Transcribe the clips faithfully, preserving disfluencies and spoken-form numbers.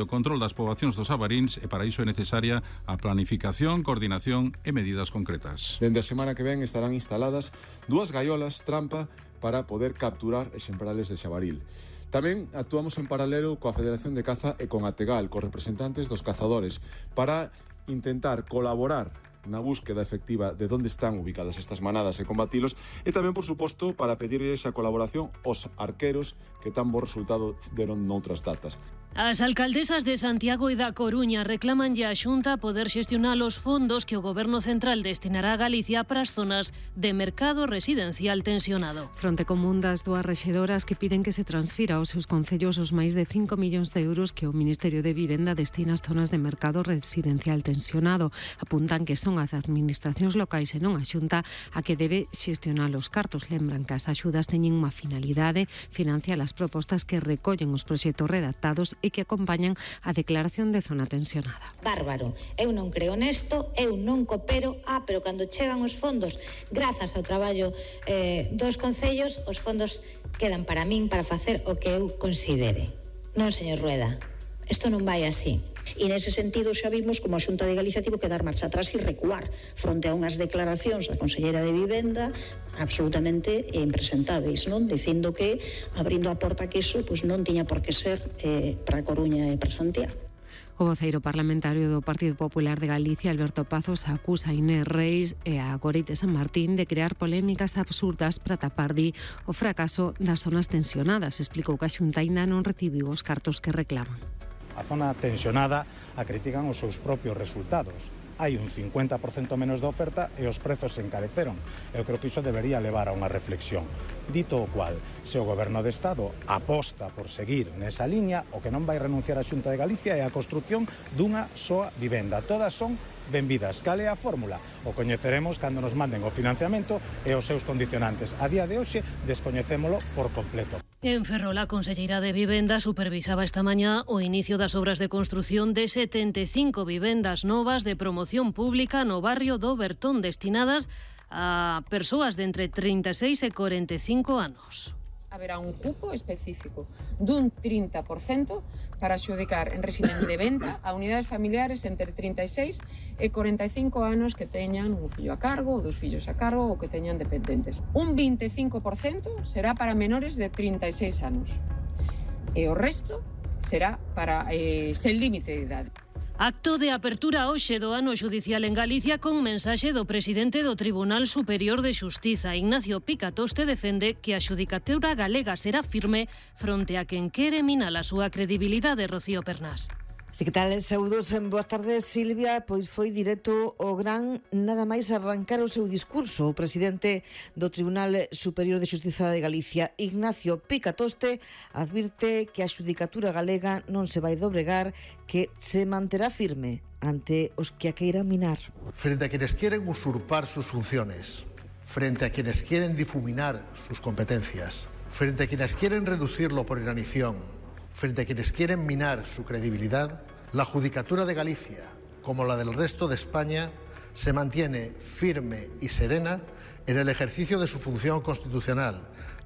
O control das poboacións dos Abaríns e para iso é necesaria a planificación, coordinación e medidas concretas. Dende a semana que ven estarán instaladas dúas gaiolas trampa para poder capturar exemplares de xabaril. Tamén actuamos en paralelo coa Federación de Caza e con Ategal, cos representantes dos cazadores, para intentar colaborar na búsqueda efectiva de onde están ubicadas estas manadas e combatilos, e tamén, por suposto, para pedir esa colaboración aos arqueros que tan bo resultado deron noutras datas. As alcaldesas de Santiago e da Coruña reclaman a Xunta poder xestionar os fondos que o Goberno Central destinará a Galicia para as zonas de mercado residencial tensionado. Fronte común das dúas rexedoras que piden que se transfira aos seus concellos os máis de cinco millóns de euros que o Ministerio de Vivenda destina ás zonas de mercado residencial tensionado. Apuntan que son as administracións locais e non a Xunta a que debe xestionar os cartos. Lembran que as axudas teñen unha finalidade, financiar as propostas que recollen os proxectos redactados e que acompañan a declaración de zona tensionada. Bárbaro, eu non creo nesto, eu non coopero, ah, pero cando chegan os fondos, grazas ao traballo eh, dos concellos, os fondos quedan para min para facer o que eu considere. Non, señor Rueda, isto non vai así. E nese sentido xa vimos como a Xunta de Galicia tivo que dar marcha atrás e recuar fronte a unhas declaracións da Conselleira de Vivenda absolutamente impresentáveis, non? Dicindo que abrindo a porta que iso pois non tiña por que ser eh, para Coruña e para Santiago. O voceiro parlamentario do Partido Popular de Galicia, Alberto Pazos, acusa a Inés Reis e a Gorite San Martín de crear polémicas absurdas para tapar di o fracaso das zonas tensionadas. Explicou que a Xunta aínda non recibiu os cartos que reclaman. A zona tensionada a critican os seus propios resultados. Hai un cincuenta por cento menos de oferta e os prezos se encareceron. Eu creo que iso debería levar a unha reflexión. Dito o cual, se o Goberno de Estado aposta por seguir nesa liña, o que non vai renunciar a Xunta de Galicia é a construción dunha soa vivenda. Todas son benvidas. Cal é a fórmula? O coñeceremos cando nos manden o financiamento e os seus condicionantes. A día de hoxe descoñecémolo por completo. En Ferrol, a conselleira de Vivenda supervisaba esta mañá o inicio das obras de construción de setenta e cinco vivendas novas de promoción pública no barrio do Bertón, destinadas a persoas de entre trinta e seis e corenta e cinco anos. Haberá un cupo específico dun trinta por cento para adxudicar en régimen de venta a unidades familiares entre trinta e seis e corenta e cinco anos que teñan un fillo a cargo ou dos fillos a cargo ou que teñan dependentes. Un vinte e cinco por cento será para menores de trinta e seis anos e o resto será para eh, sen límite de idade. Acto de apertura hoxe do ano xudicial en Galicia con mensaxe do presidente do Tribunal Superior de Xustiza. Ignacio Picatoste defende que a xudicatura galega será firme fronte a quen quere minar a súa credibilidade. Rocío Pernás. Si que tal, saúdos, boas tardes, Silvia. Pois foi directo o gran nada máis arrancar o seu discurso o presidente do Tribunal Superior de Xustiza de Galicia, Ignacio Picatoste, advirte que a xudicatura galega non se vai dobregar, que se manterá firme ante os que a queiran minar. Frente a quienes quieren usurpar sus funciones, frente a quienes quieren difuminar sus competencias, frente a quienes quieren reducirlo por inanición, frente a quienes quieren minar su credibilidad, la Judicatura de Galicia, como la del resto de España, se mantiene firme y serena en el ejercicio de su función constitucional.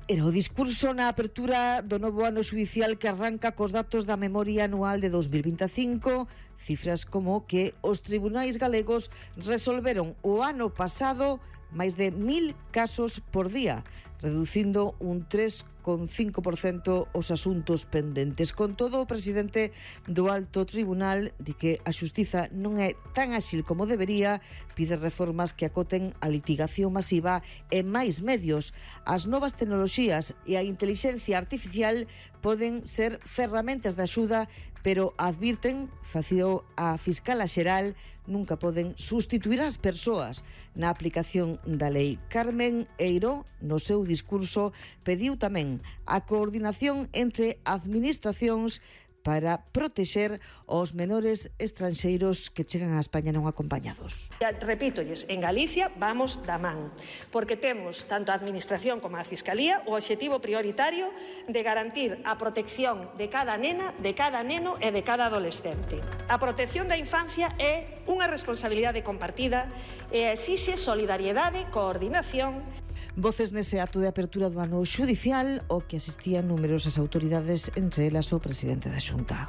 Era o discurso na apertura do novo ano xudicial que arranca cos datos da memoria anual de dos mil vinte e cinco, cifras como que os tribunais galegos resolveron o ano pasado máis de mil casos por día, reducindo un tres coma cinco por cento os asuntos pendentes. Con todo, o presidente do Alto Tribunal di que a xustiza non é tan áxil como debería, pide reformas que acoten a litigación masiva e máis medios. As novas tecnoloxías e a intelixencia artificial poden ser ferramentas de axuda, pero advirten, fació a fiscala xeral, nunca poden sustituir as persoas na aplicación da lei. Carmen Eiro, no seu discurso, pediu tamén a coordinación entre administracións para protexer os menores estranxeiros que chegan a España non acompañados. Repítolles, en Galicia vamos da man, porque temos tanto a Administración como a Fiscalía o obxectivo prioritario de garantir a protección de cada nena, de cada neno e de cada adolescente. A protección da infancia é unha responsabilidade compartida e exixe solidariedade, coordinación. Voces nese acto de apertura do ano xudicial o que asistían numerosas autoridades, entre elas o presidente da Xunta.